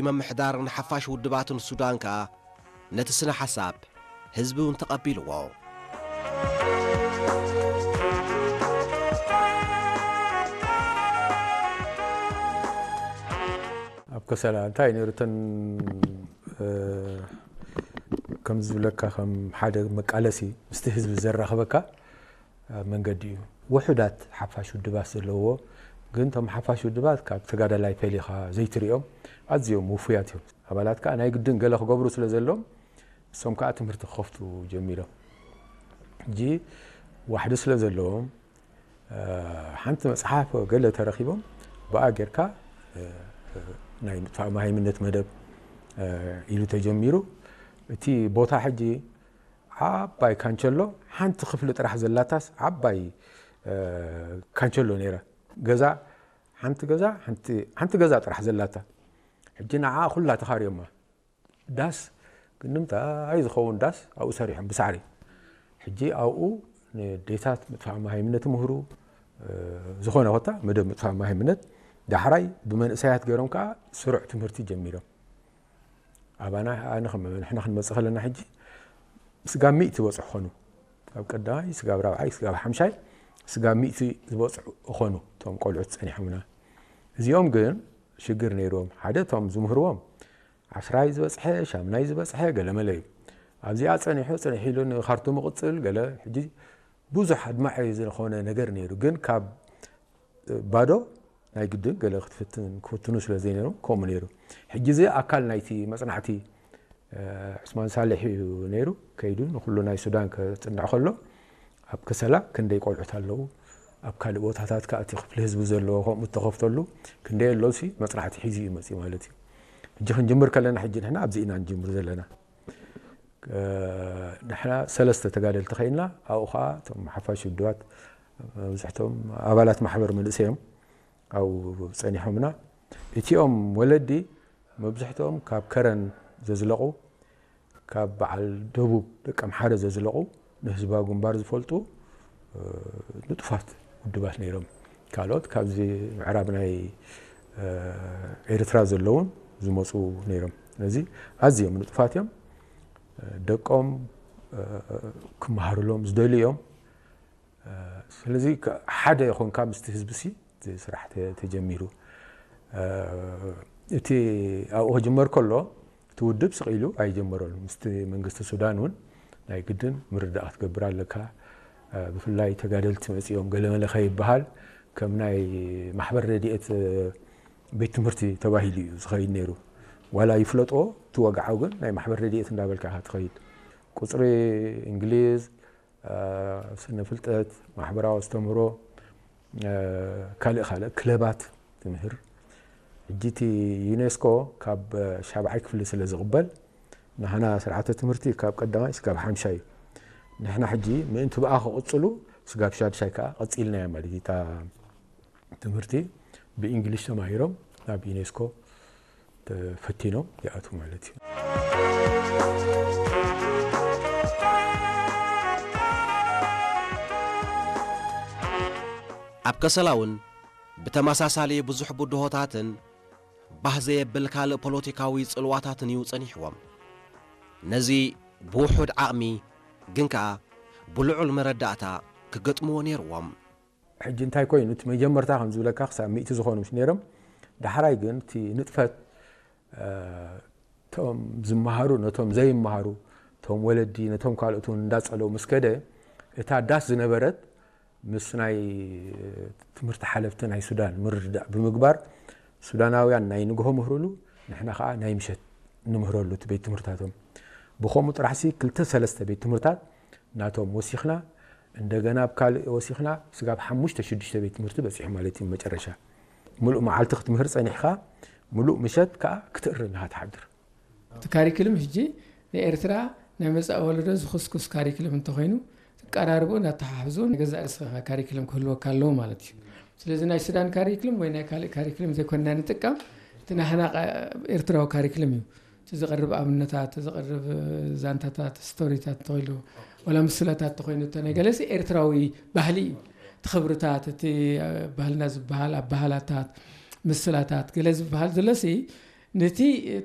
ምምሕዳርን ሓፋሽ ውድባትን ሱዳን ከኣ ነቲ ስነ ሓሳብ ህዝቢ እውን ተቐቢልዎ። ኣብ ከሰላ እንታይ ነይሩ? እተን ከም ዝብለካ ከም ሓደ መቃለሲ ምስቲ ህዝቢ ዘራኽበካ መንገዲ እዩ። ውሑዳት ሓፋሽ ውድባት ዘለዎ፣ ግን እቶም ሓፋሽ ውድባት ካብ ተጋዳላይ ፈሊኻ ዘይትሪኦም ኣዝዮም ውፉያት እዮም። ኣባላት ከዓ ናይ ግድን ገለ ክገብሩ ስለ ዘለዎም እሶም ከዓ ትምህርቲ ክኸፍቱ ጀሚሮም። ሕጂ ዋሕዲ ስለ ዘለዎም ሓንቲ መፅሓፍ ገለ ተረኪቦም ብኣ ጌርካ ናይ ምጥፋእ መሃይምነት መደብ ኢሉ ተጀሚሩ። እቲ ቦታ ሕጂ ዓባይ ካንቸሎ ሓንቲ ክፍሊ ጥራሕ ዘላታስ ዓባይ ካንቸሎ ነይራ። ገዛ ሓንቲ ገዛ ሓንቲ ገዛ ጥራሕ ዘላታ። ሕጂ ንዓ ኩላ ተኻርዮማ። ዳስ ግን ንምንታይ ዝኸውን ዳስ ኣብኡ ሰሪሖም ብሳዕሪ። ሕጂ ኣብኡ ንዴታት ምጥፋእ መሃይምነት ምህሩ ዝኾነ ኮታ መደብ ምጥፋእ መሃይምነት ዳሕራይ ብመንእሰያት ገይሮም ከዓ ስሩዕ ትምህርቲ ጀሚሮም። ኣባና ኣነ ከም ንሕና ክንመፅእ ከለና ሕጂ ስጋብ ሚእቲ ዝበፅሑ ኾኑ። ካብ ቀዳማይ ስጋብ ራብዓይ ስጋብ ሓምሻይ ስጋብ ሚእቲ ዝበፅሑ ኾኑ እቶም ቆልዑት ፀኒሖምና። እዚኦም ግን ሽግር ነይርዎም። ሓደ እቶም ዝምህርዎም ዓስራይ ዝበፅሐ ሻምናይ ዝበፅሐ ገለመለ እዩ። ኣብዚኣ ፀኒሑ ፀኒሑ ኢሉ ንካርቱም ይቕፅል ገለ። ሕጂ ብዙሕ ኣድማዒ ዝኾነ ነገር ነይሩ። ግን ካብ ባዶ ናይ ግድን ገለ ክትፍትን ክፍትኑ ስለ ዘይነይሮም ከምኡ ነይሩ። ሕጂ እዚ ኣካል ናይቲ መፅናዕቲ ዑስማን ሳልሕ እዩ ነይሩ። ከይዱ ንኩሉ ናይ ሱዳን ከፅንዕ ከሎ ኣብ ከሰላ ክንደይ ቆልዑት ኣለዉ፣ ኣብ ካልእ ቦታታት ከዓ እቲ ክፍሊ ህዝቢ ዘለዎ ከምኡ እተኸፍተሉ ክንደይ ኣሎ ሲ መፅናዕቲ ሒዙ እዩ መፅኡ ማለት እዩ። ሕጂ ክንጅምር ከለና ሕጂ ንሕና ኣብዚ ኢና ንጅምር ዘለና። ንሕና ሰለስተ ተጋደልቲ ኸይንና ኣብኡ ከዓ እቶም ሓፋሽ ውድባት መብዝሕቶም ኣባላት ማሕበር መንእሰይ እዮም ኣብኡ ፀኒሖምና። እቲኦም ወለዲ መብዝሕትኦም ካብ ከረን ዘዝለቑ፣ ካብ በዓል ደቡብ ደቂ ኣምሓረ ዘዝለቑ ንህዝባዊ ግንባር ዝፈልጡ ንጡፋት ውድባት ነይሮም። ካልኦት ካብዚ ምዕራብ ናይ ኤርትራ ዘለውን ዝመፁ ነይሮም። ስለዚ ኣዝዮም ንጡፋት እዮም። ደቆም ክመሃሩሎም ዝደልዩ እዮም። ስለዚ ሓደ ይኾንካ ምስቲ ህዝቢ ሲ እቲ ስራሕ ተጀሚሩ። እቲ ኣብኡ ክጅመር ከሎ እቲ ውድብ ስቕ ኢሉ ኣይጀመረሉ። ምስቲ መንግስቲ ሱዳን እውን ናይ ግድን ምርዳእ ክትገብር ኣለካ። ብፍላይ ተጋደልቲ መፂኦም ገለመለ ከይበሃል ከም ናይ ማሕበር ረድኤት ቤት ትምህርቲ ተባሂሉ እዩ ዝኸይድ ነይሩ። ዋላ ይፍለጦ እቲ ወግዓዊ ግን ናይ ማሕበር ረድኤት እንዳበልካ ኢኻ ትኸይድ። ቁፅሪ፣ እንግሊዝ፣ ስነ ፍልጠት፣ ማሕበራዊ ኣስተምህሮ፣ ካልእ ካልእ ክለባት ትምህር። ሕጂ እቲ ዩኔስኮ ካብ ሻብዓይ ክፍሊ ስለ ዝቕበል ንሕና ስርዓተ ትምህርቲ ካብ ቀዳማይ እስካብ ሓምሻይ እዩ። ንሕና ሕጂ ምእንቲ ብኣ ክቕፅሉ ስጋብ ሻድሻይ ከዓ ቀፂልናዮ ማለት እዩ። እታ ትምህርቲ ብእንግሊሽ ተማሂሮም ናብ ዩኔስኮ ተፈቲኖም ይኣትዉ ማለት እዩ። ኣብ ከሰላ እውን ብተመሳሳሊ ብዙሕ ብድሆታትን ባህ ዘየብል ካልእ ፖለቲካዊ ጽልዋታትን እዩ ጸኒሕዎም። ነዚ ብውሑድ ዓቕሚ ግን ከኣ ብልዑል መረዳእታ ክገጥምዎ ነይርዎም። ሕጂ እንታይ ኮይኑ እቲ መጀመርታ ከም ዝብለካ ክሳብ ሚእቲ ዝኾኑ ምስ ነይሮም ዳሕራይ ግን እቲ ንጥፈት እቶም ዝመሃሩ ነቶም ዘይመሃሩ እቶም ወለዲ ነቶም ካልኦት እውን እንዳጸለው ምስ ከደ እታ ዳስ ዝነበረት ምስ ናይ ትምህርቲ ሓለፍቲ ናይ ሱዳን ምርድዳእ ብምግባር ሱዳናውያን ናይ ንግሆ ምህርሉ ንሕና ከዓ ናይ ምሸት ንምህረሉ እቲ ቤት ትምህርታቶም ብኸምኡ ጥራሕሲ ክልተ ሰለስተ ቤት ትምህርታት ናቶም ወሲኽና እንደገና ኣብ ካልእ ወሲኽና ስጋብ ሓሙሽተ ሽዱሽተ ቤት ትምህርቲ በፂሑ ማለት እዩ መጨረሻ ሙሉእ መዓልቲ ክትምህር ፀኒሕካ ሙሉእ ምሸት ከዓ ክትእርም ኢኻ ትሓድር። እቲ ካሪክልም ሕጂ ንኤርትራ ናይ መጻኢ ወለዶ ዝኹስኩስ ካሪክልም እንተኾይኑ ትቀራርቦ እናተሓሕዞ ንገዛእ ርእስኻ ካሪክልም ክህልወካ ኣለዎ ማለት እዩ። ስለዚ ናይ ሱዳን ካሪክልም ወይ ናይ ካልእ ካሪክልም ዘይኮንና ንጥቀም እቲ ናህና ኤርትራዊ ካሪክልም እዩ። እቲ ዝቐርብ ኣብነታት፣ እቲ ዝቐርብ ዛንታታት፣ ስቶሪታት እንተኾይሉ ዋላ ምስላታት እንተኾይኑ እተ ናይ ገለሲ ኤርትራዊ ባህሊ እዩ። እቲ ክብርታት፣ እቲ ባህልና ዝበሃል ኣበሃላታት፣ ምስላታት ገለ ዝበሃል ዘሎሲ ነቲ